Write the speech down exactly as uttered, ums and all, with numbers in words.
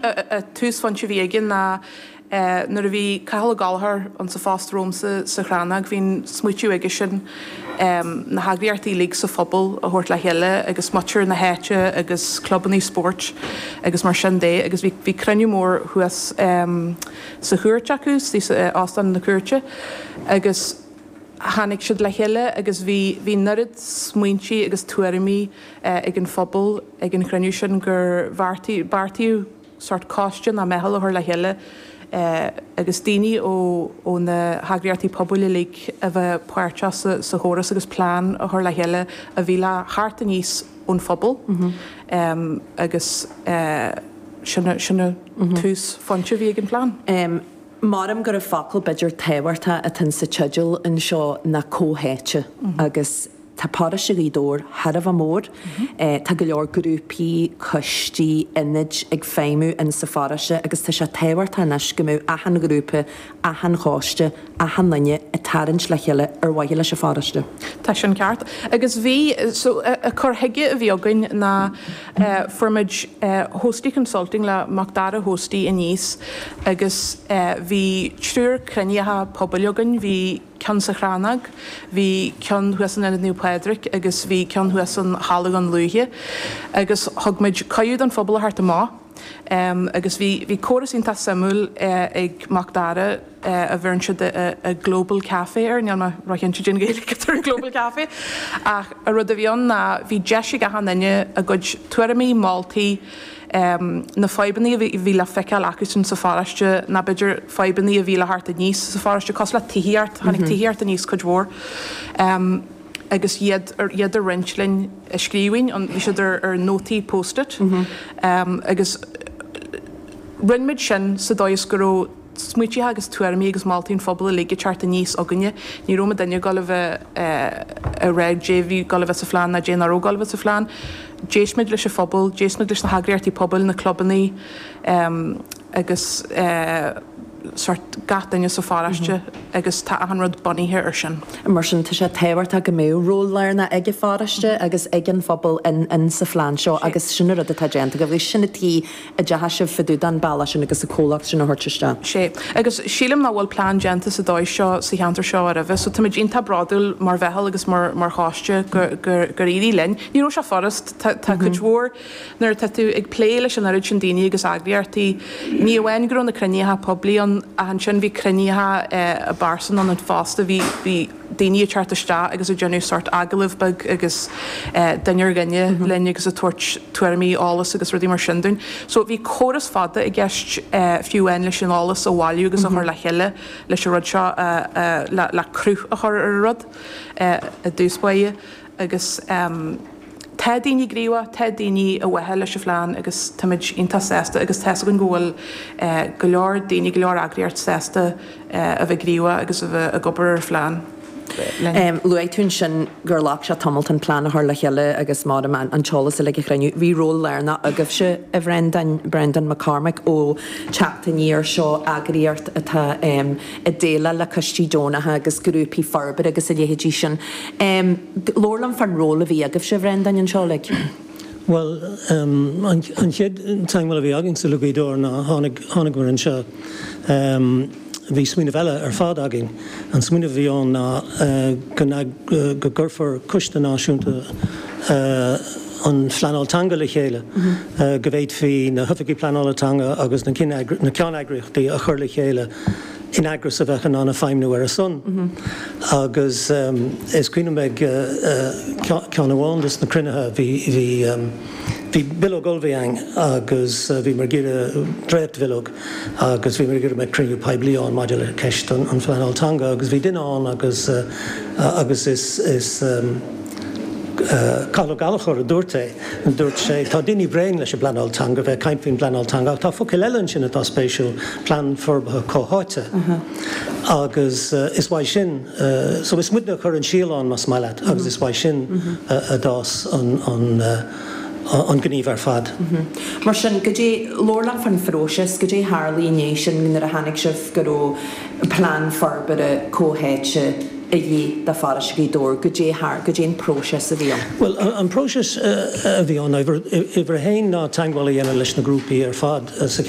Túsphointe a bhí againn ná nuair a bhí Cathal Ó Gallchóir ann sa phost romhamsa sa Chrannóg, bhí an smaoitiú aige sin na heagraíochtaí uilig sa phobal a thabhairt le chéile agus muintir na háite agus clubanna spóirt agus mar sin de agus bhí bhí cruinniú mór thuas sa chúirt acu, sa Óstán na Cúirte agus tháinig siad le chéile agus bhí bhí an oiread smaointí agus tuairimí ag an phobal ag an chruinniú sin gur bheartaíodh beartaíodh sórt coiste nó meitheal a chur le chéile agus daoine ó ó na heagraíochtaí pobail uilig a bheith páirteach sa sa chóras agus plean a chur le chéile a bhí le theacht aníos ón phobal agus sin sin an túsphointe a bhí ag an phlean. Maram go raibh focal b'fhéidir tábhachtach atá sa teideal anseo ná comhtháite agus tá paróiste Ghaoth Dobhair thar a bheith mór. Tá go leor grúpaí, coistí, ionaid ag feidhmiú in sa pharóiste agus tá sé tábhachtach anois go mbeadh achan ghrúpa, achan choiste, achan duine ag tarraingt le chéile ar mhaithe leis an pharóiste. Tá sin ceart. Agus bhí, so an cur chuige a bhí againn ná fuair muid Hosty Consulting le Macdara Hosty aníos agus bhí triúr cruinnithe pobail againn, bhí ceann sa Chrannóg, bhí ceann thuas in Ionad Naomh Pádraig agus bhí ceann thuas in Halla Dhún Lúiche agus thug muid cuireadh don phobal a theacht amach agus bhí bhí córas iontach suimiúil ag Macdara a bheireann siad a Global Cafe air, níl mé róchinnte cén Ghaeilge atá ar an Global Cafe ach an rud a bhí ann ná bhí deis ag achan duine a gcuid tuairimí, moltaí, na fadhbanna a bhí le feiceáil acusan sa pharóiste ná b'fhéidir fadhbanna a bhí le theacht aníos sa pharóiste cosúil le tithíocht, tháinig tithíocht aníos cuid mhór agus iad iad a roinnt linn i scríbhinn, bhí siad ar ar nótaí post-it agus rinne muid sin sa dóigh is go raibh smaointe agus tuairimí agus moltaí an phobail uilig ag teacht aníos againne. Ní raibh muidinne ag dul a bheith ag rá caidé a bhí ag dul a bheith sa phlean ná caidé nach raibh ag dul a bheith sa phlean. D'éist muid leis an phobal, d'éist muid leis na heagraíochtaí pobail, na clubanna agus sórt gach duine sa pharóiste agus tá achan rud bunaithe ar sin. Mar sin tá sé tábhachtach go mbeadh ról lárnach ag an pharóiste agus ag an phobal in in sa phlean seo agus sin an rud atá déanta agaibh agus sin an tuige a dteachaigh sibh fá dtaobh den bealach sin agus an comhlacht sin a thabhairt isteach. Sé. Agus sílim nach bhfuil plean déanta sa dóigh seo sa cheantar seo roimhe so táimid iontach bródúil mar mheitheal agus mar mar choiste gur gur gur éirigh linn. Ní raibh sé furast, tá tá cuid mhór nuair atá tú ag plé leis an oiread sin daoine agus eagraíochtaí, ní amháin go raibh na cruinnithe poiblí ann ach ansin bhí cruinnithe i bpearsan ann fosta, bhí bhí daoine ag teacht isteach agus ag déanamh sórt agallamh beag agus duine ar dhuine linn agus ag tabhairt tuairimí, eolas agus rudaí mar sin dúinn. So bhí córas fada i gceist fiú amháin leis an eolas a bhailiú agus a chur le chéile leis an rud seo le le cruth a chur ar an rud i dtús báire agus tá daoine gníomhach, tá daoine i bhfeighil leis an phlean agus táimid iontach sásta agus tá's againn go bhfuil go leor daoine, go leor eagraíocht sásta a bheith gníomhach agus a bheith ag obair ar an phlean linn. Luaigh tú ansin gur ghlac sé tamall an plean a chur le chéile agus mar an an t-eolas uilig a chruinniú. Bhí ról lárnach agaibhse, a Bhrendáin, Brendan McCormick ó Teacht Aniar seo, eagraíocht atá ag déileáil le coistí deonacha agus grúpaí forbartha agus a leithéidí sin. Labhair liom fán ról a bhí agaibhse, a Bhrendáin, anseo uilig. Bhuel, an chéad teagmháil a bhí againn le Gaoth Dobhair ná tháinig tháinigeamar anseo. Bhí smaoineamh eile ar fad againn. An smaoineamh a bhí ann ná go go gcuirfear Coiste Náisiúnta an Phleanáil Teanga le chéile, go bhféadfaí na hoifigigh pleanála teanga agus na na ceanneagraíochtaí a chur le chéile in eagras a bheadh in ann a feidhmiú ar a son. Agus is cuimhin liom ag ceann amháin de na cruinnithe bhí bhí bhí bileog ullmhaithe againn agus bhí mar gur dréachtbhileog agus bhí mar gur mbeadh cruinniú poiblí ann maidir le ceist an an phleanáil teanga agus bhí duine ann agus agus is is Cathal Ó Gallchóir a dúirt é, dúirt sé tá daoine bréan leis an bpleanáil teanga bheith caint faoin bpleanáil teanga ach tá focail eile ansin atá spéisiúil plean forbartha comhtháite agus is uaidh sin so is muidne a chur an síol ann más maith leat agus is uaidh sin a d'fhás an an an gníomh ar fad. Mar sin, goidé labhair liom fán phróiseas, goidé tharla i ndiaidh sin nuair a tháinig sibh go raibh plean forbartha comhtháite a dhíth do pharóiste Ghaoth Dobhair, goidé thar, goidé an próiseas a bhí ann. Bhuel, an próiseas a bhí ann, uimhir a haon ná teagmháil a dhéanamh leis na grúpaí ar fad sa cheantar.